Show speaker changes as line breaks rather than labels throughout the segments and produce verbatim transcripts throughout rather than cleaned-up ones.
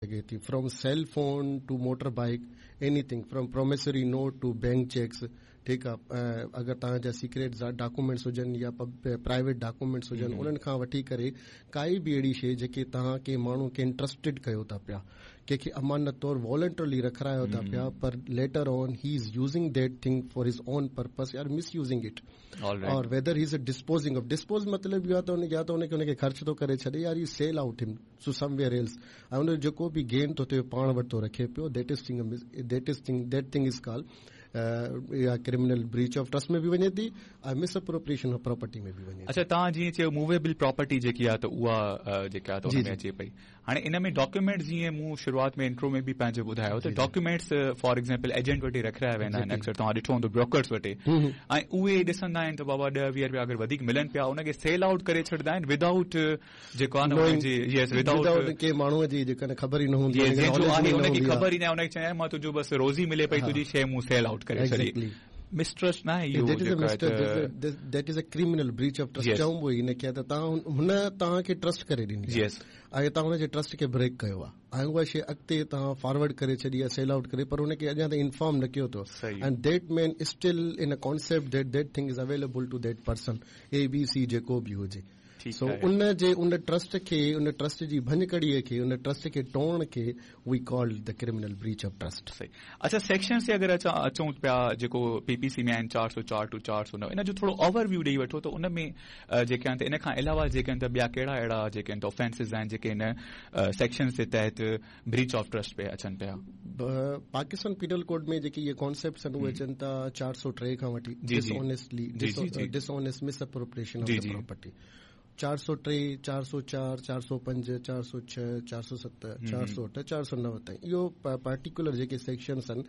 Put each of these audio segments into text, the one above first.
سگهي ٿي from cell phone to motor bike anything from promissory note to bank cheques ٺيڪ آهي اگر توهان جا سيڪريٽ ڊاڪومينٽس هجن يا پرائيويٽ ڊاڪومينٽس هجن انهن کان وٺي ڪري ڪائي به اهڙي شيءِ جيڪي توهان ڪنهن ماڻهو کي انٽرسٽيڊ ڪيو ٿا پيا ڪنهن کي امانت طور والنٽرلي رکرايو ٿا پيا پر later on he is using that thing for his own purpose or misusing it or whether he is disposing of dispose مطلب اهو آهي ته يا ته ان کي ان کي خرچ ٿو ڪري ڇڏي يا he sell out him to somewhere else ۽ ان جو جيڪو به گين ٿو ٿئي پاڻ وٽ ٿو رکي پيو that is thing that is thing that thing is call يا ڪرمنل بريچ آف ٽرسٽ ۾ به وڃي ٿي ۽ مس اپروپريئيشن آف پراپرٽي ۾ به وڃي ٿي.
اڇا توهان جيئن چيو موويبل پراپرٽي جيڪي آهي ته اها جيڪا آهي ته ان ۾ اچي پئي هاڻي ان ۾ ڊاڪيومينٽس جيئن مون شروعات ۾ انٽرو ۾ به پنهنجو ٻڌايو ته ڊاڪيومينٽس فار ايگزامپل ايجنٽ وٽ رکرايا ويندا آهن اڪثر توهان ڏٺو هوندو بروڪرس وٽ ۽ اهي ڏسندا آهن ته بابا ڏهه ويهه رپيا اگر وڌيڪ ملن پيا ان کي سيل آئوٽ ڪري ڇڏندا آهن ودائوٽ جيڪو آهي نه ان جي يس ودائوٽ
ڪنهن ماڻهوء جي جيڪا خبر ئي نه هوندي
آهي ان کي خبر ئي نه آهي ان کي چيائين مان تنهنجو بس روزي ملي پئي تنهنجي شيء مون سيل آئوٽ ڪري ڇڏي مسٽرسٽ نه آهي اهو
that is a criminal breach of trust چئبو ئي ان کي ته توهان هن توهان کي ٽرسٽ ڪري ڏني
يس
۽ توهان هن جي ٽرسٽ کي بريڪ ڪيو آهي ۽ اها شيء اڳتي توهان فارورڊ ڪري ڇڏي يا سيل آئوٽ ڪري پر هن کي اڃا تائين انفارم نه ڪيو اٿو ۽ that man still in a concept that that thing is available to that person A B C جيڪو به هجي سو ان جي ان ٽرسٽ کي ان ٽرسٽ جي ڀڃڪڙي کي ان ٽرسٽ کي ٽوڙڻ کي we call the criminal breach of trust.
صحيح اڇا سيڪشنز تي اگر اچون پيا جيڪو پي پي سي ۾ آهن چار سؤ چار ٽو چار سؤ نو ان جو ٿورو اوور ويو ڏئي وٺو ته ان ۾ جيڪي آهن ته ان کان علاوه جيڪي آهن ته ٻيا ڪهڙا اهڙا جيڪي آهن ته اوفينسز آهن جيڪي هن سيڪشنز جي تحت بريچ آف ٽرسٽ پي اچن پيا.
پاڪستان پينل ڪوڊ ۾ جيڪي اهي ڪانسيپٽس آهن اهي اچن ٿا چار سؤ ٽي کان وٺي dishonestly dishonest misappropriation of the property چار سؤ ٽي، چار سؤ چار، چار سؤ پنج، چار سؤ ڇهه، چار سؤ ست، چار سؤ اٺ، چار سؤ نو تائين اهو پارٽيڪولر جيڪي سيڪشنس آهن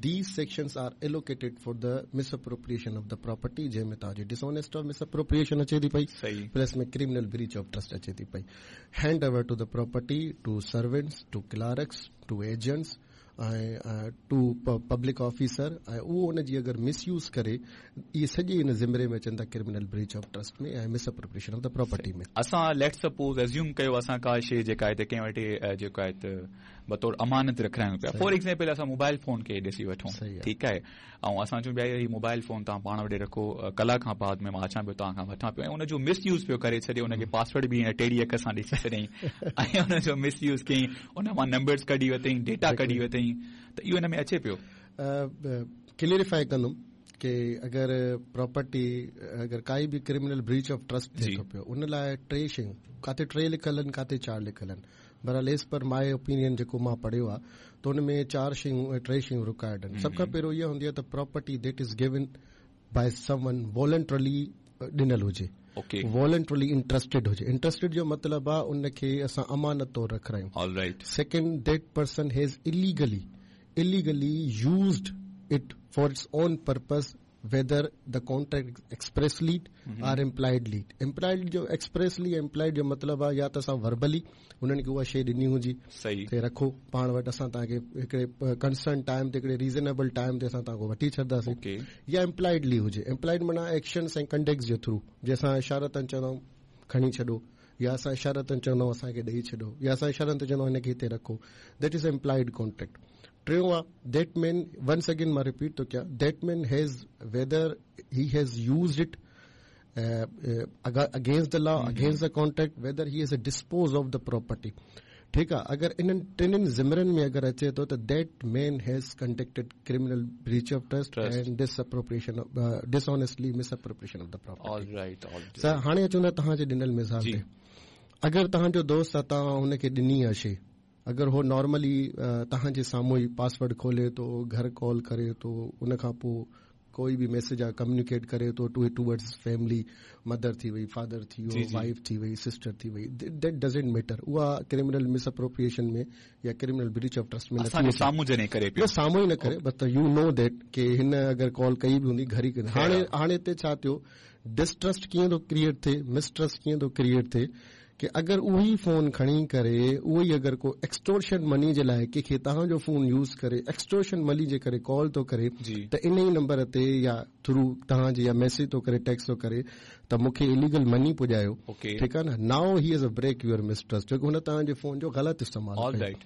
these sections are allocated for the misappropriation of the property جنهن ۾ توهان جي ڊس اونيسٽ آف مس اپروپريئيشن اچي ٿي پئي plus ۾ criminal breach of trust اچي ٿي پئي hand over to the property to servants to clerks to agents ۽ to public officer ۽ اهو ان جي اگر مس يوز ڪري اهي سڄي ان زمري ۾ اچن ٿا criminal breach of trust ۾ ۽ misappropriation of the property ۾.
اسان let's suppose assume ڪيو اسان ڪا شيء جيڪا آهي ته ڪنهن وٽ جيڪو آهي ته بطور امانت رکرايون پيا فار ايگزامپل اسان موبائل فون کي ڏسي وٺون ٺيڪ آهي ۽ اسان چئون پيا هي موبائل فون توهان پاڻ وٽ رکو ڪلاڪ کان بعد ۾ مان اچان پيو توهان کان وٺان پيو ۽ ان جو مس يوز پيو ڪري ڇڏي ان کي پاسورڊ به ائين ٽيڙي اک سان ڏسي ڇڏيائين ۽ ان جو مس يوز ڪيائين ان مان نمبرز ڪڍي ورتائين ڊيٽا ڪڍي ورتائين ته اهو ان ۾ اچي پيو.
ڪليريفائي ڪندم ڪي اگر پراپرٽي اگر ڪائي به ڪرمنل بريچ آف ٽرسٽ ٿئي ٿو پيو ان لاء ٽي شيون ڪاٿي ٽي لکيل آهن ڪاٿي چار لکيل آهن بهرحال ايز پر ماء اوپينين جيڪو مان پڙهيو آهي ته ان ۾ چار شيون ٽي شيون رڪوائرڊ آهن سڀ کان پهريون اها هوندي آهي ته property that is given by someone voluntarily ڏنل هجي والنٽرلي انٽرسٽيڊ هجي انٽرسٽيڊ جو مطلب آهي ان کي اسان امانت طور رکرايون second that person has illegally illegally used it for its own purpose whether the contract expressly or impliedly implied جو ايڪسپريسلي امپلائيڊ جو مطلب آهي يا ته اسان وربلي انهن کي اها شيء ڏني هجي ته رکو پاڻ وٽ اسان توهان کي هڪڙي ڪنسرن ٽائيم تي هڪڙي ريزنيبل ٽائيم تي اسان توهان کان وٺي ڇڏنداسين يا امپلائيڊلي هجي امپلائيڊ معنيٰ ايڪشنس ۽ ڪنڊڪٽس جي ٿرو جي اسان اشارتن چوندا آهيون کڻي ڇڏو يا اسان اشارتن چوندا آهيون اسان کي ڏئي ڇڏو يا اسان اشارن تي چوندا آهيون هن کي هتي رکو that is implied contract ٽيون آهي that main once again مان رپيٽ ٿو ڪيان that man has whether he has used it against the law against the contract whether he has dispose of the property ٺيڪ آهي اگر انهن ٽنهن زمرن ۾ اگر اچي ٿو ته that man has conducted criminal breach of trust and disappropriation dishonestly misappropriation of the property sir هاڻي اچون ٿا توهان جي ڏنل مثال تي اگر توهان جو دوست آهي توهان هن کي ڏني آهي شي اگر هو نارملي توهان جي سامهون ئي پاسورڊ کولي ٿو گهر ڪال ڪري ٿو ان کان پوء ڪوئي به ميسيج آ ڪميونيڪيٽ ڪري ٿو ٽو ٽوورڊز فيملي مدر ٿي وئي فادر ٿي ويو وائيف ٿي وئي سسٽر ٿي وئي that doesn't matter اها ڪرمنل مس اپروپريئيشن ۾ يا ڪرمنل بريچ آف ٽرسٽ ۾
اسان جي سامهون جڏهن ڪري پيو
سامهون ئي نه ڪري بس you know that ڪي هن اگر ڪال ڪئي به هوندي گهر ئي ڪندي هاڻي هاڻي هتي ڇا ٿيو ڊسٽرسٽ ڪيئن ٿو ڪريئيٽ ٿئي مسٽرسٽ ڪيئن ٿو ڪريئيٽ ٿئي ڪي اگر اهو ئي فون کڻي ڪري اهو ئي اگر ڪو ايڪسٽورشن مني جي لاء ڪنهن کي توهان جو فون يوز ڪري ايڪسٽورشن مني جي ڪري ڪال ٿو ڪري ته ان ئي نمبر تي يا ٿرو توهان جي يا ميسيج ٿو ڪري ٽيڪسٽ ٿو ڪري ته مون کي اليگل مني پڄايو ٺيڪ آهي نه now he has a break your mistrust ڇو ڪي هن توهان جي فون جو غلط استعمال ڪيو.